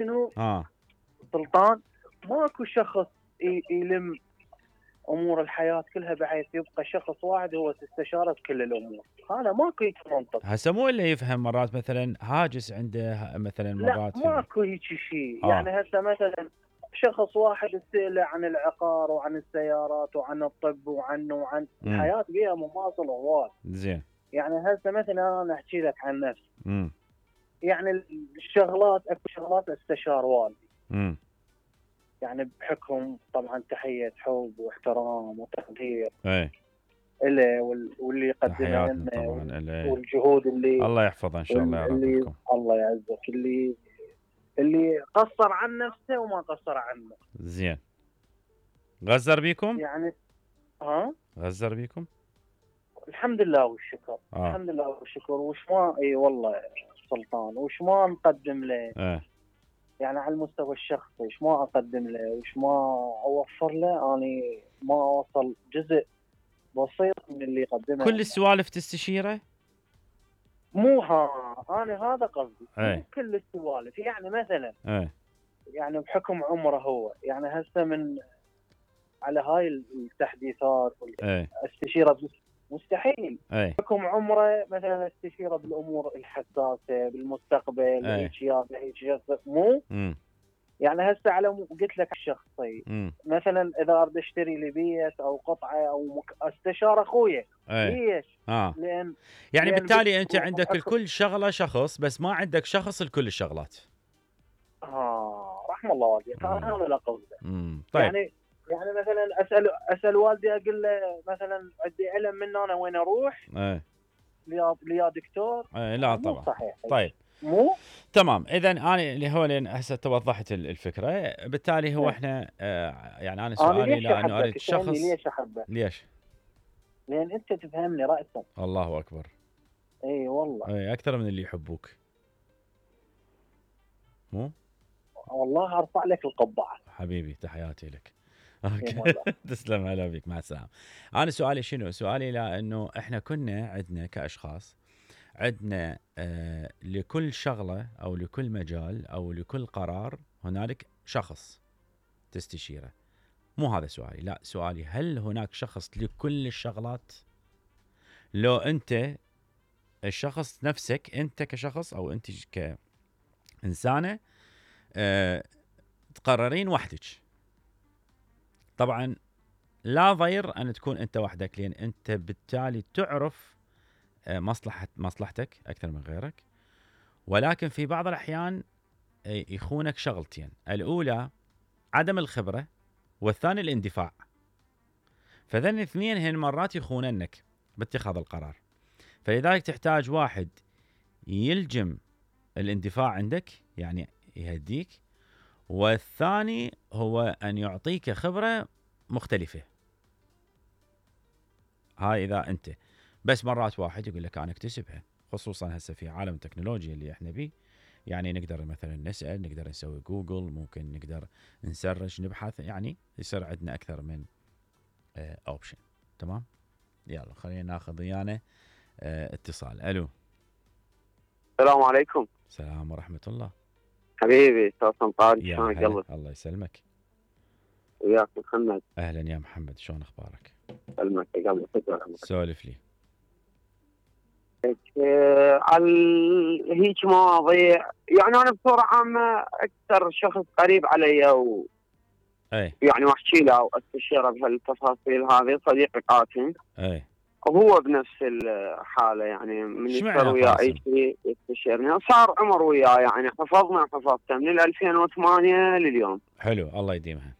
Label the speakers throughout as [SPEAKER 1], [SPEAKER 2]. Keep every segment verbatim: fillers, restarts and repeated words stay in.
[SPEAKER 1] شنو
[SPEAKER 2] اه
[SPEAKER 1] سلطان؟ ماكو شخص يلم امور الحياه كلها بحيث يبقى شخص واحد هو تستشاره بكل الامور، هذا ماكو هيك منطق.
[SPEAKER 2] هسه مو اللي يفهم مرات مثلا هاجس عنده مثلا
[SPEAKER 1] لا
[SPEAKER 2] مرات
[SPEAKER 1] ماكو هيك شيء.
[SPEAKER 2] آه.
[SPEAKER 1] يعني هسه مثلا شخص واحد تسأله عن العقار وعن السيارات وعن الطب وعن وعن
[SPEAKER 2] مم.
[SPEAKER 1] الحياه بيها مواصله هواي.
[SPEAKER 2] زين.
[SPEAKER 1] يعني هسه مثلا انا احكي لك عن نفسي،
[SPEAKER 2] امم
[SPEAKER 1] يعني الشغلات اكو شغلات استشار والدي،
[SPEAKER 2] امم
[SPEAKER 1] يعني بحكم طبعا تحيه حب واحترام وتقدير
[SPEAKER 2] اي
[SPEAKER 1] له وال- واللي يقدمه
[SPEAKER 2] تحياتنا
[SPEAKER 1] لنا
[SPEAKER 2] طبعا
[SPEAKER 1] وال-
[SPEAKER 2] إليه.
[SPEAKER 1] والجهود اللي
[SPEAKER 2] الله يحفظه ان شاء الله يا رب
[SPEAKER 1] اللي
[SPEAKER 2] لكم.
[SPEAKER 1] الله يعزك، اللي اللي قصر عن نفسه وما قصر عنه.
[SPEAKER 2] زين. غزر بيكم؟
[SPEAKER 1] يعني ها
[SPEAKER 2] غزر بيكم؟
[SPEAKER 1] الحمد لله والشكر.
[SPEAKER 2] آه.
[SPEAKER 1] الحمد لله والشكر. وش ما اي والله سلطان، وش ما نقدم له
[SPEAKER 2] ايه
[SPEAKER 1] يعني على المستوى الشخصي، وش ما اقدم له وش ما اوفر له، اني ما اوصل جزء بسيط من اللي يقدمه.
[SPEAKER 2] كل السوالف تستشيره؟
[SPEAKER 1] مو ها انا هذا قصدي.
[SPEAKER 2] ايه
[SPEAKER 1] مو كل السوالف. يعني مثلا
[SPEAKER 2] ايه
[SPEAKER 1] يعني بحكم عمره هو، يعني هسه من على هاي التحديثات
[SPEAKER 2] ايه
[SPEAKER 1] والاستشيره مستحيل.
[SPEAKER 2] ايه
[SPEAKER 1] بحكم عمره مثلا استشيره بالامور الحساسه بالمستقبل
[SPEAKER 2] ايه
[SPEAKER 1] هيك يا هيك مو
[SPEAKER 2] امم
[SPEAKER 1] يعني هسه على م- قلت لك الشخصي
[SPEAKER 2] امم
[SPEAKER 1] مثلا اذا اريد اشتري لي بيت او قطعه او مك... استشار اخويا.
[SPEAKER 2] ايه
[SPEAKER 1] ليش؟
[SPEAKER 2] اه
[SPEAKER 1] لان
[SPEAKER 2] يعني
[SPEAKER 1] لأن
[SPEAKER 2] بالتالي انت
[SPEAKER 1] بحكم-
[SPEAKER 2] عندك
[SPEAKER 1] بحكم-
[SPEAKER 2] لكل شغله شخص بس ما عندك شخص لكل الشغلات.
[SPEAKER 1] اه رحم الله والديك.
[SPEAKER 2] مم.
[SPEAKER 1] انا هذا لا قصده.
[SPEAKER 2] امم طيب.
[SPEAKER 1] يعني يعني مثلا اسال اسال والدي اقول له مثلا عندي علم من انا وين اروح
[SPEAKER 2] ايه
[SPEAKER 1] ليا ليا دكتور.
[SPEAKER 2] ايه لا
[SPEAKER 1] مو
[SPEAKER 2] طبعا.
[SPEAKER 1] صحيح.
[SPEAKER 2] طيب
[SPEAKER 1] مو
[SPEAKER 2] تمام. اذا انا اللي هو لين هسه توضحت ال- الفكره، بالتالي هو
[SPEAKER 1] إيه.
[SPEAKER 2] احنا آه يعني انا
[SPEAKER 1] انا
[SPEAKER 2] سؤالي
[SPEAKER 1] ليش
[SPEAKER 2] لانه
[SPEAKER 1] احبك؟
[SPEAKER 2] اريد
[SPEAKER 1] تسالني
[SPEAKER 2] شخص.
[SPEAKER 1] ليش احبك؟
[SPEAKER 2] ليش؟
[SPEAKER 1] لان انت تفهمني راسا.
[SPEAKER 2] الله اكبر.
[SPEAKER 1] اي والله.
[SPEAKER 2] اي اكثر من اللي يحبوك. مو
[SPEAKER 1] والله ارفع لك القبعه.
[SPEAKER 2] حبيبي تحياتي لك.
[SPEAKER 1] إيه
[SPEAKER 2] اوكي
[SPEAKER 1] والله.
[SPEAKER 2] تسلم. هلا بك. مع السلامه. انا سؤالي شنو؟ سؤالي لانه احنا كنا عندنا كاشخاص عندنا آه لكل شغله او لكل مجال او لكل قرار هنالك شخص تستشيره. مو هذا سؤالي. لا سؤالي هل هناك شخص لكل الشغلات؟ لو انت الشخص نفسك انت كشخص او انت كإنسانة أه تقررين وحدك، طبعا لا ضير ان تكون انت وحدك لان انت بالتالي تعرف أه مصلحة مصلحتك اكثر من غيرك، ولكن في بعض الاحيان يخونك شغلتين، الاولى عدم الخبرة والثاني الاندفاع، فذن الاثنين هن مرات يخوننك باتخاذ القرار، فلذلك تحتاج واحد يلجم الاندفاع عندك يعني يهديك، والثاني هو أن يعطيك خبرة مختلفة. هاي إذا أنت بس مرات واحد يقول لك أنا اكتسبها، خصوصا هسه في عالم التكنولوجيا اللي احنا بيه، يعني نقدر مثلا نسأل، نقدر نسوي جوجل، ممكن نقدر نسرج نبحث، يعني يصير عندنا أكثر من اوبشن. تمام. يلا خلينا ناخذ ويانا اه اتصال. الو.
[SPEAKER 3] السلام عليكم.
[SPEAKER 2] السلام ورحمة الله.
[SPEAKER 3] حبيبي استاذ سلطان،
[SPEAKER 2] يا
[SPEAKER 3] شلونك؟
[SPEAKER 2] هلا.
[SPEAKER 3] قلبك
[SPEAKER 2] الله يسلمك.
[SPEAKER 3] وياك محمد.
[SPEAKER 2] اهلا يا محمد، شلون اخبارك؟
[SPEAKER 3] سلمك يا قلبي.
[SPEAKER 2] سولف لي.
[SPEAKER 3] آه، على هيك مواضيع، يعني انا بصوره عامه اكثر شخص قريب علي و
[SPEAKER 2] اي
[SPEAKER 3] يعني واحكي له او استشيره بهالتفاصيل هذه صديقي قاسم.
[SPEAKER 2] اي
[SPEAKER 3] وهو بنفس الحاله، يعني من يصير
[SPEAKER 2] اشمعنى
[SPEAKER 3] وياه
[SPEAKER 2] قاسم؟
[SPEAKER 3] اي شيء يستشيرني. صار عمر وياه، يعني حفظنا حفظته من ألفين وثمانية لليوم.
[SPEAKER 2] حلو، الله يديمها.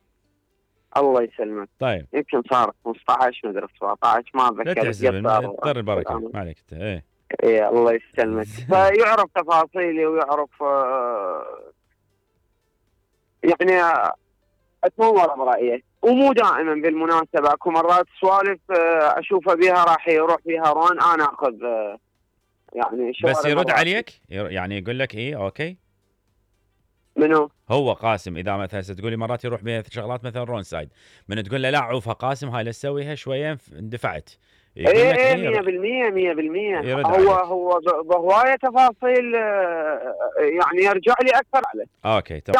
[SPEAKER 3] الله يسلمك.
[SPEAKER 2] طيب
[SPEAKER 3] يمكن صار خمسة عشر مدري سبعطعش ما
[SPEAKER 2] لا
[SPEAKER 3] اتذكر.
[SPEAKER 2] تحزب، طر البركه ما عليك انت. ايه
[SPEAKER 3] ايه الله يسلمك. فيعرف تفاصيلي ويعرف آه يعني اتمور برايه، ومو دائما بالمناسبه، اكو مرات سوالف آه اشوفه بها راح يروح فيها روان انا اخذ آه يعني
[SPEAKER 2] بس يرد عليك يعني يقول لك ايه اوكي.
[SPEAKER 3] منو؟
[SPEAKER 2] هو قاسم. اذا مثلا تقول لي مرات يروح بها شغلات مثلا رون سايد، من تقول له لا عوفها قاسم هاي لا تسويها شويه اندفعت، يقول
[SPEAKER 3] ايه
[SPEAKER 2] لك
[SPEAKER 3] ايه
[SPEAKER 2] إيه،
[SPEAKER 3] مية بالمية مية بالمية.
[SPEAKER 2] يرد
[SPEAKER 3] هو
[SPEAKER 2] عليك.
[SPEAKER 3] هو ب- بهواية تفاصيل، آه، يعني يرجع لي اكثر عليه.
[SPEAKER 2] اوكي تمام.